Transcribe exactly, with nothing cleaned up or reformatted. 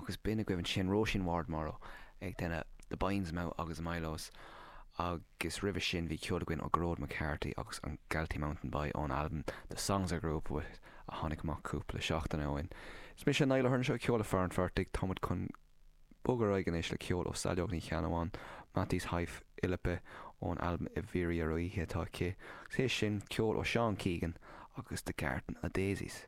Agus b'in agaibh ansin Róisín Ward Morrow ag déanamh The Binds Mouth agus Milos agus roimhe sin bhí ceol againn ó Gearóid McCarthy agus an Galtee Mountain Boy ón albam The Songs I Grew Up With a tháinig amach cúpla seachtain ó shin. Is mise Niall Ahern seo ceol le fear an phortaigh táimid chun bogadh ar aghaidh anois le ceol ó Saileog Ní Cheannabháin, Matís Haif Ilipe ón albam i bhfírí ar oíche atá aici, agus é sin ceol ó Seán Keegan agus The Garden of Daisies.